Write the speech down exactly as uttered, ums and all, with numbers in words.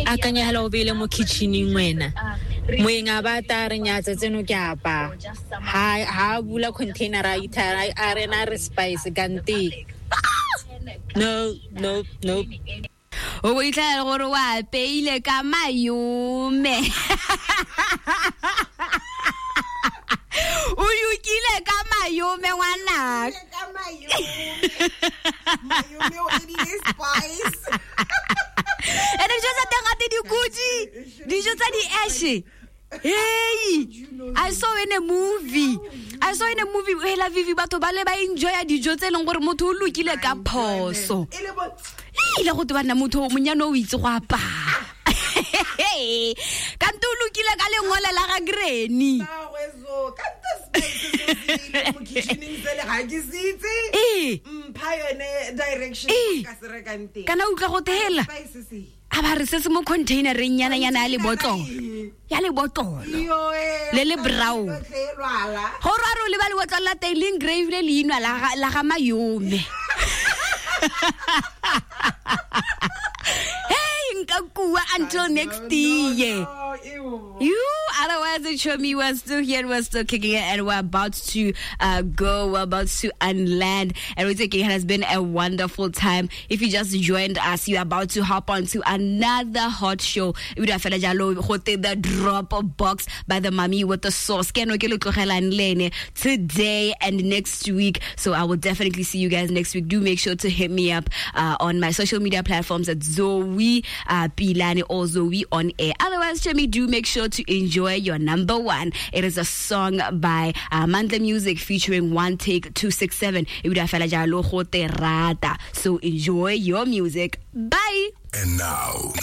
Akanya hela o beile mo kitchening wena. Moeng a ba ta re nyatsa tseno ke apa. Ha ha bula container a itha a rena re spice kante. No, no, no. O itlhela gore o apeile ka mayome. O yukile ka mayome ngwanaka. Ka mayome. Mayome o edile spice. Ene dijo tsa teng gate dikutsi, dijo tsa di-ashe. Hey, I saw in a movie. I saw in a movie hela Vivi batho ba le ba enjoya dijo tse leng gore motho o lokile ka phoso. Ile go te bana motho monyane o itse go apaya. Kante o lokile ka lengole la ga granny. Kana utlwa go tela. A ba re se se mo containereng nyana nyana ya lebotlolo. Ya lebotlolo. Le le brown. Gore a re o leba lebotlolo la teng le engrave le leinwa la la ga mayome. Hey, nka kua until next year. You otherwise it show me we're still here and we're still kicking it and we're about to uh, go, we're about to unland. And we're taking, it has been a wonderful time. If you just joined us, you're about to hop on to another hot show. The Drop Box by the Mommy with the Sauce. Today and next week. So I will definitely see you guys next week. Do make sure to hit me up uh, on my social media platforms at Zoe uh, Pilane or Zoe on Air. Otherwise, Chemi, do make sure to enjoy your number one. It is a song by uh, Mandla Music featuring One Take two six seven. So enjoy your music. Bye. And now,